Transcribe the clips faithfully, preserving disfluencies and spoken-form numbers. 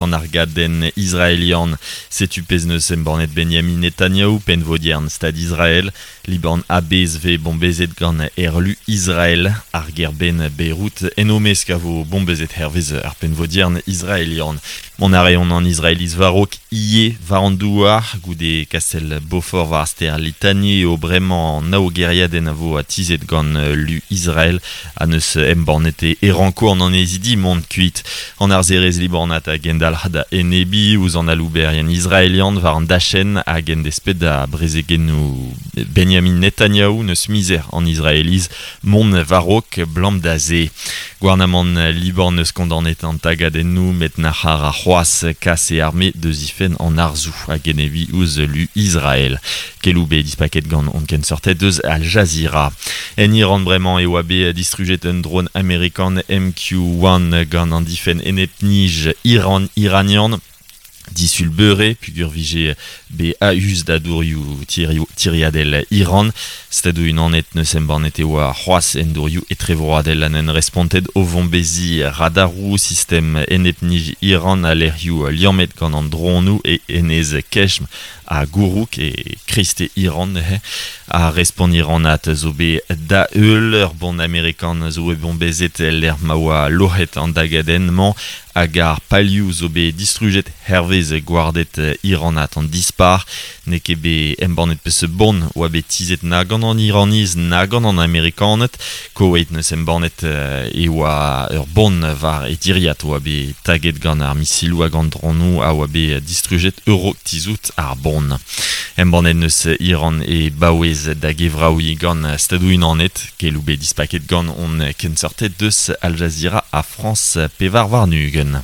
An argadenn israelian. Setu pezh neus embannet Benjamin Netanyahu pennvodiern Stad Israel. Liban a-bezh vez bombezet gant aerlu Israel. Ar gêr-benn Beyrouth en o mesk a vo bombezet hervez ar pennvodiern israelian. Mont a reont an Israeliz war-raok ivez war an douar goude kastell Beaufort war ar stêr Litani eo bremañ an nav gêriadenn a vo atizet gant lu Israel ha neus embannet e ranko an annezidi mont kuit. An harzerezh libanat a gendalc'h da enebiñ ouzh an alouberien israelian war an dachenn hag en desped da brezegennoù Benjamin Netanyahu neus mizer an Israeliz mont war-raok 'blam da se. Gouarnamant Liban neus kondaonet an tagadennoù met nac'h a ra c'hoazh kas e arme da zifenn an harzoù hag enebiñ ouzh lu Israel. Keloù bet dispaket gant hon kenseurted deus Al Jazeera. En Iran bremañ e oa bet distrujet un drone amerikan M Q un gant an difenn enep-nij Iran iranian. Disul beure, pugur vije be a-us da dourioù tiriadel Iran. Stadoù unanet neus embannet e oa c'hoazh en dourioù etrevroadel an en respontet o vombezi radaroù sistem enep-nij Iran a lec'hioù liammet gant an dronoù e enez Keshm a Gourouk e kreiste Iran neuze. A respont Iranat zo bet da heul ur bon amerikan zo bet bombezet lec'h ma oa loc'het an dagadenn-mañ hag ar palioù zo bet distrujet hervez gwarded Iranat an dispar. N'eo ket bet embannet peseurt bon oa bet tizhet na gant an Iraniz na gant an Amerikaned. Koweït neus embannet e oa ur bon war e diriad oa bet taget gant ar misiloù hag an dronoù a oa bet distrujet ur tizout ar bon. Embannet neus Iran e baouez da gevraouiñ gant Stadoù Unanet, keloù bet dispaket gant hon kenseurted deus Al Jazeera ha France pevar warn-ugent.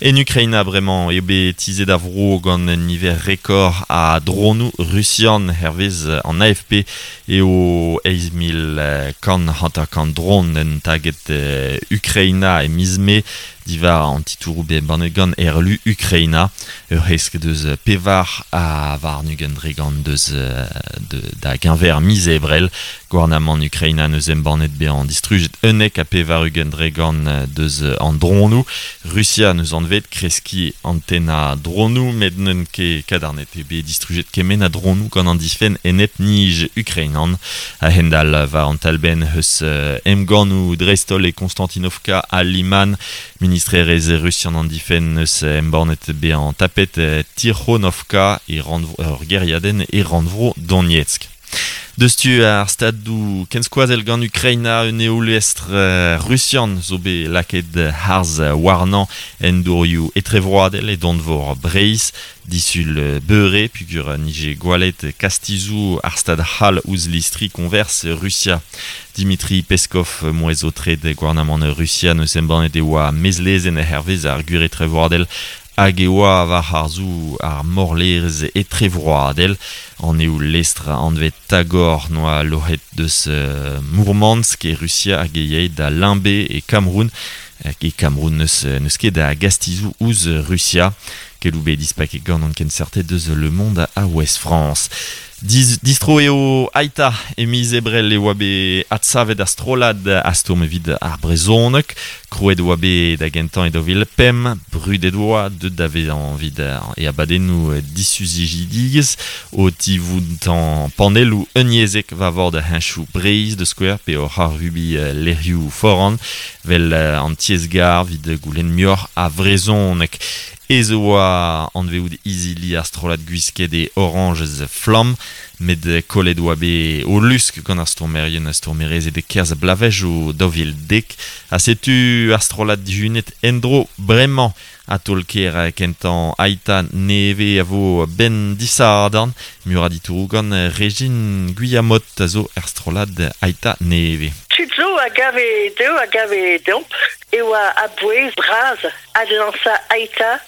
En Ukraina bremañ eo bet tizhet ar vro gant un niver rekord a dronoù rusian hervez an A F P eo eizh mil kant hanter-kant dron en taget Ukraina e miz Mae diwar an titouroù bet embannet gant aerlu Ukraina. Ur hesk deus pevar a warn-ugent dre gant deus de, da geñver miz Ebrel. Gouarnamant Ukraina neus embannet bezañ distrujet unnek ha pevar-ugent dre gant deus an dronoù. Rusia neus anvet kreskiñ antenna dronoù met n'eus ket kadarnet eo bet distrujet kement a dronoù gant an difenn enep-nij ukrainan. A-hend-all war an talbenn eus emgannoù dreist-holl e Konstantinovka ha Liman. Ministrerezh rusian an difenn eus embannet bezañ tapet Tirhonovka e rannvro, ur gêriadenn e rannvro Donetsk. Deus tu ar stadoù kenskoazell gant Ukraina un eoulestr rusian zo bet lakaet harz warnañ en dourioù etrevroadel e donvor Breizh. Disul beure pugur nije gwalet kastizoù ar stad c'hall ouzh listri konvers Rusia. Dimitri Peskov mouezh o tred gouarnamant Rusia neus embannet e oa mezlezenn hervez ar gwir etrevroadel hag e oa war harzoù ar morlerezh etrevroadel. An eo lestr anvet Tagor noa loc'het deus uh, Mourmansk e Rusia hag e yae da Limbe e Cameroun. E Cameroun neus, neus ket da gastizoù ouzh Rusia. Keloù bet dispaket gant an kenseurted deus Le Monde a Ouest France. Diz, distro eo Ai'ta e miz Ebrel e oa bet adsavet ar strollad a stourm evit ar brezhoneg. Krouet oa bet da gentañ e daou vil pemp, brudet oa deut da vezañ evit e abadennoù disuzijidigezh o tivoutañ panelloù unyezhek war vord heñchoù Breizh da skouer pe oc'h arubi lec'hioù foran vel an tiez-gar evit goulenn muioc'h a vrezhoneg. Ez oa anveout izili ar strollad gwisket e Orange Flamm, met kollet oa bet o lusk gant ar stourmerien ha stourmerezed e kerzh blavezh o daou vil dek. Ha setu ar strollad dihunet en-dro bremañ a taol-kêr kentañ Ai'ta nevez a vo ben disadorn. Muioc'h a ditouroù gant Régine Guillamot a zo er strollad Ai'ta nevez. Tud zo a gave dezho, a gave deomp, e oa a-bouez bras adlañsañ Ai'ta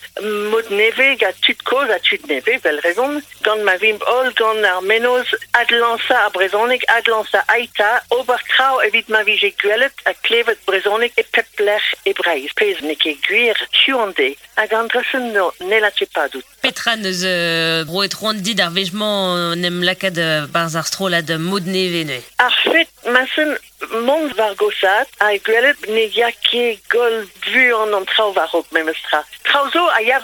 mod nevez gant tud kozh ha tud nevez, vel rezon, gant ma vimp holl gant ar mennozh adlañsañ ar brezhoneg, adlañsañ Ai'ta, ober traoù evit ma vije gwelet ha klevet brezhoneg e pep lec'h e Breizh. Pezh n'eo ket gwir hiziv an deiz. Hag an dra-se no, n'hella ket padout. Petra neus euh, roet c'hoant dit ar wech-mañ en em lakaat barzh ar strollad mod nevez neuze? Ar fet, ma sen Mont war gosat a gwelet ne ya ket gol vu an an traoù war-raok memes tra. Traoù zo a ya